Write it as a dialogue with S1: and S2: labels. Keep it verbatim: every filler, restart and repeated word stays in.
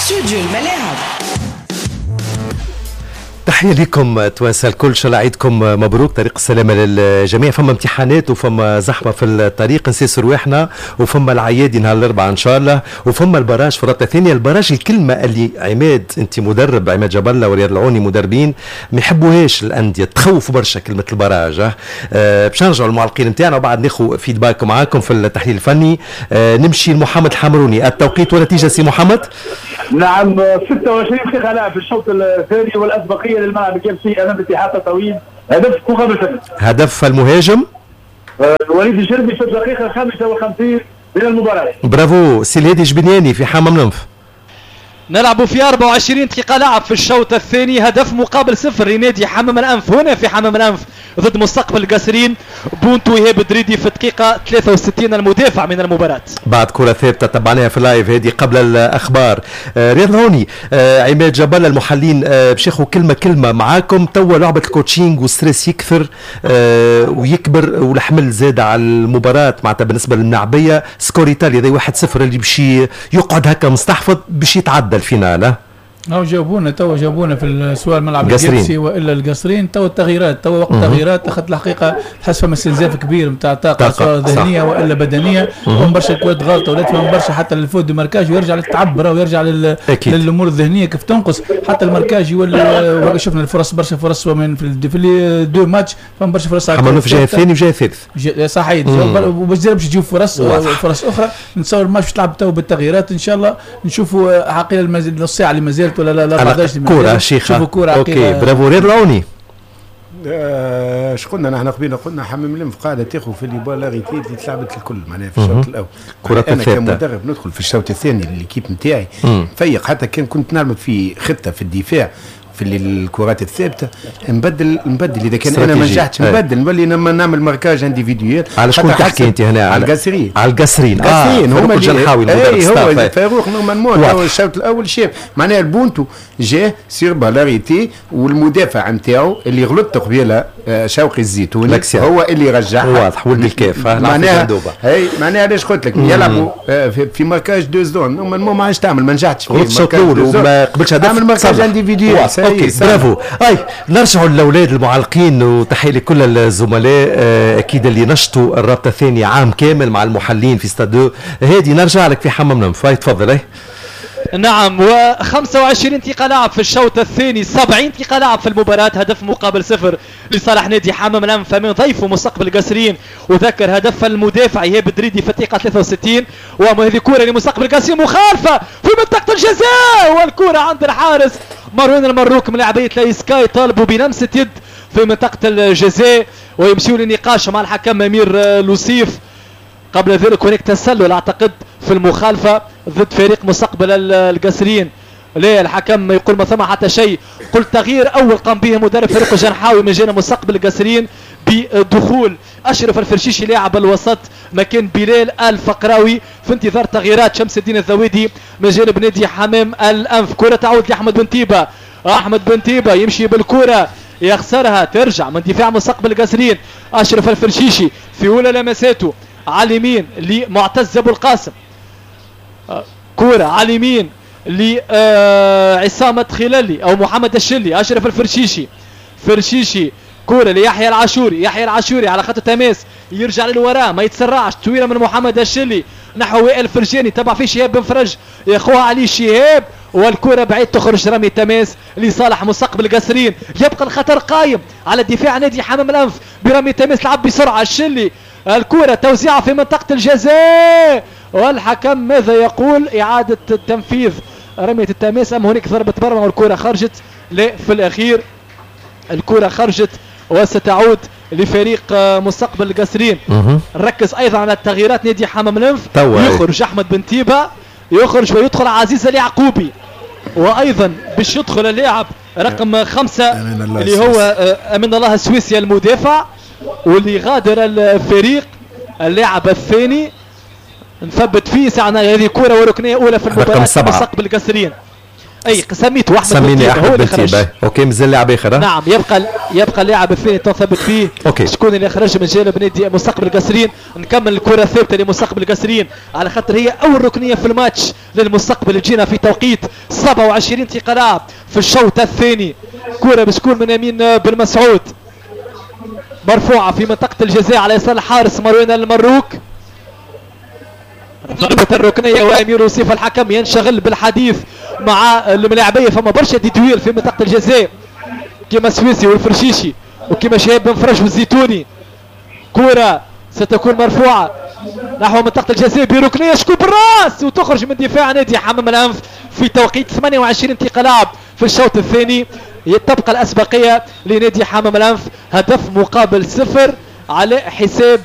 S1: استوديو الملاعب.
S2: تحية لكم توانسة الكل، ان شاء الله عيدكم مبروك، طريق السلامة للجميع. فما امتحانات وفما زحمة في الطريق، نسيسوا رواحنا، وفما العيادي نهار الأربعاء إن شاء الله، وفما ال barrage في الرابطة الثانية. ال barrage الكلمة اللي عماد أنت مدرب، عماد جبلة ورياض العوني مدربين، ما يحبوهاش الأندية، تخوف برشا كلمة ال barrage. أه باش نرجعوا للمعلقين نتاعنا وبعد ناخذ feedback معاكم في التحليل الفني. أه نمشي لمحمد الحمروني، التوقيت ونتيجة سي محمد.
S3: نعم، ستة وعشرين دقيقة لعب في الشوط الثاني والأسبقية للملعب القابسي أمام اتحاد تطاوين، هدف مقابل صفر.
S2: هدف المهاجم
S3: آه، وليد الشربي في الدقيقة خمسة وخمسين من المباراة.
S2: برافو سي الهادي جبنياني في حمام الأنف.
S4: نلعب في أربعة وعشرين دقيقة لعب في الشوط الثاني، هدف مقابل صفر لنادي حمام الأنف هنا في حمام الأنف ضد مستقبل القصرين. بونتو إيهاب دريدي في الدقيقة ثلاثة وستين المدافع من المباراة.
S2: بعد كرة ثابتة تبعناها في ال live هذه قبل الأخبار. آه رياض العوني، آه عماد جبل المحللين، آه باش ياخذوا كلمة كلمة معاكم. توا لعبة ال coaching وال stress يكثر آه ويكبر والحمل زاد على المباراة، معناتها بالنسبة للملاعبية. score ايطاليا هذا واحد صفر اللي باش يقعد هكا مستحفظ باش يتعدى ال finale.
S5: هاو جاوبونا توا، جاوبونا في السؤال ملعب القابسي والا القصرين. توا التغييرات، توا وقت التغييرات، اخذت الحقيقة تحس فما استنزاف كبير نتاع طاقة سواء ذهنية والا بدنية. فما برشا كوات غلطه ولات، فما برشا حتى ال faute de marquage ويرجع للتعب ويرجع لل... للامور الذهنية كيف تنقص حتى ال marquage يولي. شفنا الفرص، برشا فرص من في, في deux matchs، فما برشا فرص.
S2: حمام في الجهة الثاني وجهه الثالث.
S5: صحيح، وباش باش تجيب فرص فرص اخرى. نتصور الماتش تلعب تو بالتغييرات، ان شاء الله نشوفوا عقيل نص ساعة اللي مازالت ولا لا لا
S2: كورة شيخه.
S5: شوفوا كورة.
S2: OK bravo رياض العوني.
S6: اش قلنا نحن قبيلة؟ قلنا حمام الانف قاعدة تاخذ في les balles arrêtées اللي تلعبت الكل معناها في الشوط الاول.
S2: كرة
S6: انا كمدرب ندخل في الشوط الثاني l'équipe نتاعي فيق، حتى كان كنت نعمل في خطه في الدفاع في الكرات الثابتة نبدل نبدل اذا كان انا ما نجحتش نبدل، نولي نعمل marquage individuel.
S2: على شكون تحكي انت هنا؟
S6: على القصرين.
S2: على القصرين، القصرين
S6: هما الجنحاوي المدرب. هو فاروق normalement الشوط الاول شاف معناها البونتو جاه sur balle arrêtée، والمدافع نتاعو اللي غلط قبيلة شوقي الزيتوني هو اللي رجعها.
S2: واضح ولد الكاف
S6: معناها. هي معناها علاش قلت لك يلعبوا في marquage deux zones، normalement ما عادش تعمل، ما نجحتش
S2: فيه الشوط الاول وما قبلش هدف،
S6: اعمل marquage individuel.
S2: OK bravo. اي نرجعوا للاولاد المعلقين وتحية لكل الزملاء اكيد اللي نشطوا الرابطة الثانية عام كامل مع المحللين في ستاد هادي. نرجع لك في حمام الأنف، تفضل. اي
S4: نعم، وخمسة وعشرين دقيقة لعب في الشوط الثاني، سبعين دقيقة لعب في المباراة، هدف مقابل صفر لصالح نادي حمام الأنف من ضيفه مستقبل القصرين. وذكر هدف المدافع إيهاب دريدي في الدقيقة ثلاثة وستين. وهذه كرة لمستقبل القصرين، مخالفة في منطقة الجزاء والكرة عند الحارس مروان المروك. من لاعبية لايسكاي طالبوا بلمسة يد في منطقة الجزاء ويمشيوا للنقاش مع الحكم أمير لوسيف. قبل ذلك هناك تسلل اعتقد في المخالفة ضد فريق مستقبل القصرين. لا، الحكم يقول ما ثم حتى شيء. قلت تغيير اول قام به مدرب فريق الجنحاوي من جانب مستقبل القصرين بدخول اشرف الفرشيشي لاعب الوسط مكان بلال الفقراوي، في انتظار تغييرات شمس الدين الذويدي من جانب نادي حمام الانف. كره تعود لاحمد بن تيبه، احمد بن تيبه يمشي بالكرة يخسرها، ترجع من دفاع مستقبل القصرين. اشرف الفرشيشي في اولى لمساته على اليمين لمعتز ابو القاسم، كرة على اليمين لعصام خلالي او محمد الشلي. اشرف الفرشيشي، فرشيشي كرة ليحيى العاشوري، يحيى العاشوري على خط التماس يرجع للوراء ما يتسرعش، طويلة من محمد الشلي نحو وائل فرجاني، تبع فيه شهاب بن فرج، ياخوها علي شهاب والكرة بعيد تخرج رمي تماس لصالح مستقبل القصرين. يبقى الخطر قايم على دفاع نادي حمام الانف برمي تماس، لعب بسرعة الشلي، الكرة توزيعة في منطقة الجزاء والحكم ماذا يقول؟ إعادة التنفيذ رمية التماس أم هناك ضربة مرمى والكرة خرجت؟ لا، في الأخير الكرة خرجت وستعود لفريق مستقبل القصرين. نركز أيضا على التغييرات نادي حمام الأنف، يخرج أحمد بن تيبة، يخرج ويدخل عزيز اليعقوبي، وأيضا باش يدخل اللاعب رقم خمسة اللي هو أمين الله السويسي المدافع واللي غادر الفريق اللاعب الثاني. نثبت فيه ساعة هذه كرة وركنية أولى في المباراة مستقبل القصرين. اي سميته احمد
S2: سميني احمد بن تيبه. OK مازال لاعب اخر.
S4: نعم يبقى يبقى اللاعب الثاني تثبت فيه.
S2: OK
S4: شكون اللي خرج من جانب نادي مستقبل القصرين. نكمل الكره الثابتة لمستقبل القصرين على خاطر هي اول ركنيه في الماتش للمستقبل، تجينا في توقيت سبعة وعشرين دقيقة لعب في الشوط الثاني. كره باش تكون من يمين بن مسعود، مرفوعة في منطقة الجزاء على يسار الحارس مروان المروك. ضربة الركنية وأمير وصيف الحكم ينشغل بالحديث مع الملاعبية. فما برشا des duels في منطقة الجزاء كما سويسي والفرشيشي وكما شهاب بن فرج والزيتوني. كرة ستكون مرفوعة نحو منطقة الجزاء بركنية، شكون بالراس وتخرج من دفاع نادي حمام الأنف في توقيت ثمانية وعشرين دقيقة لعب في الشوط الثاني. تبقى الأسبقية لنادي حمام الأنف، هدف مقابل صفر على حساب